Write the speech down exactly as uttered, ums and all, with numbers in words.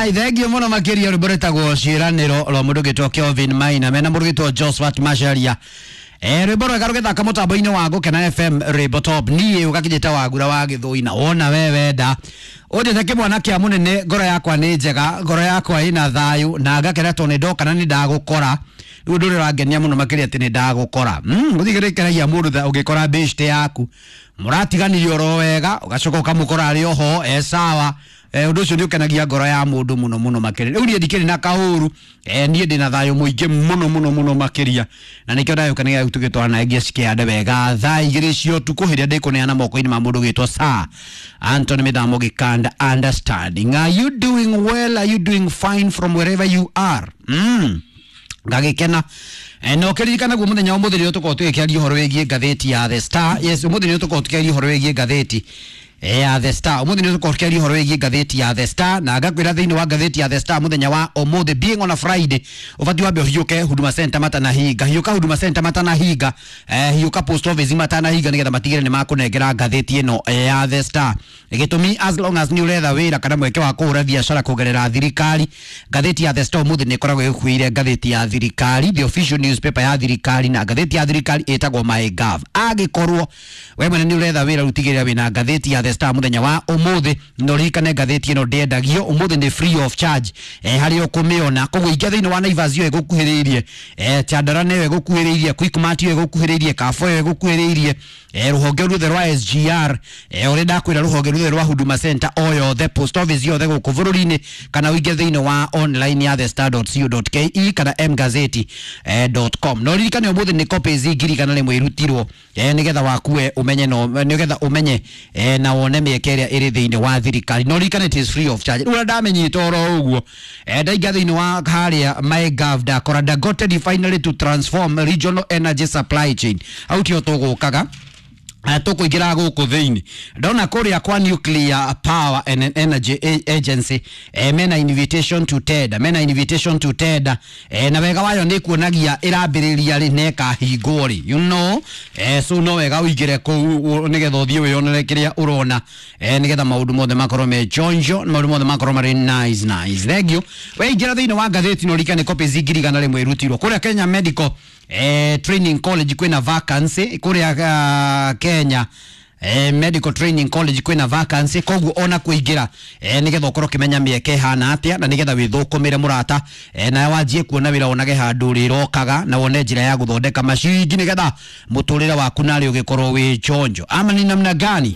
Alright, thank you muno makiria rwimbo rwĩtagwo ciĩranĩro rwa mũndũ ũgĩtwo Kelvin Maina mena mũndũ ũgĩtwo Josphat Macharia. Eh, rwimbo rwega rũgĩthaka mũtambo-inĩ wa Gũkena F M rwimbo top niĩ ũgakinyĩte wagura wa gĩthũi na wona we wenda ũnjĩte kĩmwana kĩa mũnene, ngoro yakwa nĩ njega, ngoro yakwa ĩna thayũ na ngakena tondũ nĩ ndoka na nĩ ndagũkora. Rĩu ũndũ ũrĩa ũrangenia mũno makĩria atĩ nĩ ndagũkora. Mm, gũtirĩ kĩndũ gĩkenagia mũndũ tha ũngĩkora bĩcite yaku mũratiganirie oro wega ũgacoka ũkamũkora arĩ oho e sawa. Eh, ũndũ ũcio nĩ ũkenagia ngoro ya mũndũ mũno mũno makĩria. Rĩu niĩ ndikĩrĩ na kaũru, eh, niĩ ndĩna thayũ mũingĩ mũno mũno mũno makĩria, na nĩkĩo ndagĩũka nĩgetha tũgĩtwarana nawe nginya cikĩhande wega thaa igĩrĩ cia ũtukũ hĩrĩa ndĩkũneana moko-inĩ ma mũndũ ũgĩtwo Sir Anthony Mĩthamo Gĩkanda. Understanding, are you doing well? Are you doing fine from wherever you are? Mm. Ngagĩkena. Eh, na ũkĩririkana guo mũthenya wa ũmũthĩ nĩrĩo tũkoragwo tũgĩkĩaria ũhoro wĩgiĩ ngathĩti ya The Star. Yes, ũmũthĩ nĩrĩo tũkoragwo tũkĩaria ũhoro wĩgiĩ ngathĩti ya The Star. Ũmũthĩ nĩrĩo tũkoragwo tũkĩaria ũhoro wĩgiĩ ngathĩti ya The Star, na ngakwĩra thĩinĩ wa ngathĩti ya The Star mũthenya wa ũmũthĩ, being on a Friday, ũbatiĩ wambe ũhiũke Huduma Center matanahinga, hiũka Huduma Center matanahinga, eh, hiũka post office matanahinga, nĩgetha matigĩre nĩ makũnengera ngathĩti ĩno ya The Star. Gĩtũmi, as long as nĩ ũretha wĩra kana mweke wa kũhũra biacara kũgerera thirikari, ngathĩti ya The Star ũmũthĩ nĩ ĩkoragwo ĩgĩkuĩire ngathĩti ya thirikari, the official newspaper ya thirikari, na ngathĩti ya thirikari ĩtagwo MyGov. Angĩkorwo we mwene nĩ ũretha wĩra, rĩu tigĩrĩra wĩna ngathĩti ya The Star mũthenya wa ũmũthĩ, na ũririkane ngathĩti ĩno ndĩendagio, ũmũthĩ nĩ free of charge, eh, harĩa ũkũmĩona. Koguo ingĩa thĩinĩ wa Naivas ĩyo ĩgũkuhĩrĩirie, eh, Chandarana ĩyo ĩgũkuhĩrĩirie, Quickmart ĩyo ĩgũkuhĩrĩirie, Carrefour ĩyo ĩgũkuhĩrĩirie, eh, rũhonge ruothe rwa S G R, eh, ũrĩa ndakwĩra rũhonge ruothe rwa Huduma Center o yothe, post office yothe gũkũ bũrũri-inĩ, kana ũingĩ thĩinĩ wa online ya the star dot co dot k e kana mgazeti dot com. Na ũririkane ũmũthĩ nĩ copies ngiri igana rĩmwe irutirwo, eh, nĩgetha wakue ũmenye no, nĩgetha ũmenye, eh, na wone mĩeke ĩrĩa ĩrĩ thĩinĩ wa thirikari. Na ũririkane it is free of charge. Rĩu ũrĩa ndamenyete oro ũguo, eh, ndaingĩra thĩinĩ wa harĩa MyGov ndakora Dangote refinery to transform regional energy supply chain. Hau tio tũgũkaga tũkũingĩra gũkũ thĩinĩ. Ndona kũrĩa kwa Nuclear Power and Energy Agency, eh, mena invitation to tender, mena invitation to tender, eh, na wega wayo nĩ kuonagia ĩrambĩrĩria rĩ na ĩkahingwo rĩ, you know, eh, so no wega ũingĩre kũu nĩgetha ũthiĩ wĩyonere kĩrĩa ũrona, eh, nĩgetha maũndũ mothe makorwo me chonjo, maũndũ mothe makorwo marĩ nice nice. Thank you. We ingĩra thĩinĩ wa ngathĩti na ũririkane copies ngiri igana rĩmwe irutirwo kũrĩa Kenya Medical eh, Training College kwĩna vacancy kũrĩa, uh, Kenya eh, Medical Training College kwĩna vacancy, koguo ona kũingĩra, eh, nĩgetha ũkorwo ũkĩmenya mĩeke ĩhana atĩa na nĩgetha wĩthũkũmĩre mũrata, eh, na wanjie kuona wĩra wonage handũ rĩrokaga na wone njĩra ya gũthondeka maciringi nĩgetha mũtũrĩre waku narĩ ũgĩkorwo wĩ chonjo. Ama ni namna gani?